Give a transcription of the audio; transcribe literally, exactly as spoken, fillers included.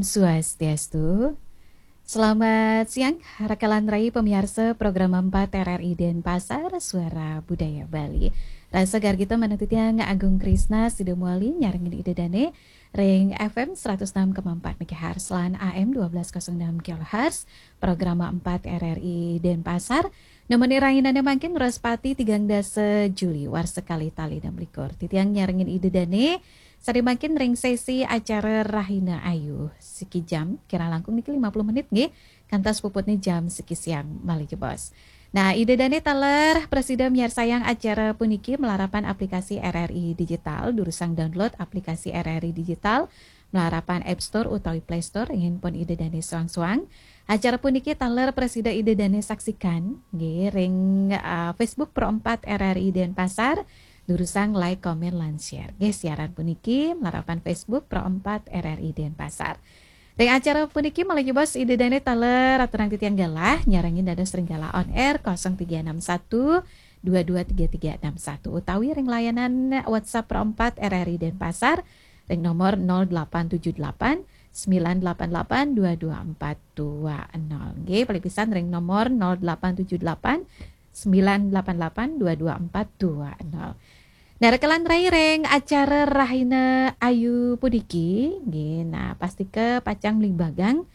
Swastiastu. Selamat siang, rakalan rai pamiarsa program empat R R I Denpasar, Suara Budaya Bali. Rasa gargita manatitiang Agung Krisna sida muali nyarengin Ida Dane ring F M seratus enam koma empat megahertz lan A M dua belas kosong enam kilohertz, program empat R R I Denpasar. Nemenin rahinane mangkin Wraspati tigang dasa Juli warsa kalih tali enam likur. Titiang nyarengin Ida Dane sane mangkin ring sesi acara Rahina Ayu. Siki jam, kirang langkung niki lima puluh menit nggih, kantos puputne jam siki siang malih jebos. Nah, Ida Dane taler prasida miarsayang acara puniki malarapan aplikasi R R I Digital, durusang download aplikasi R R I Digital malarapan App Store utawi Play Store ring handphone Ida Dane soang-soang. Acara puniki taler prasida Ida Dane saksikan nggih ring, uh, Facebook Pro empat R R I Denpasar, durusang like, komen, lan share. Nggih, siaran puniki malarapan Facebook Pro empat R R I Denpasar. Ring acara puniki malih jebos Ida Dane taler aturang titiang galah nyarengin dados ring galah on air kosong tiga enam satu dua dua tiga tiga enam satu utawi ring layanan WhatsApp Pro empat R R I Denpasar ring nomor nol delapan tujuh delapan sembilan delapan delapan dua dua empat dua nol. Nggih, paling pisan ring nomor nol delapan tujuh delapan sembilan delapan delapan dua dua empat dua nol. Nah, rakalan rai ring acara Rahina Ayu puniki, nggih, nah, pastika pacang mligbagang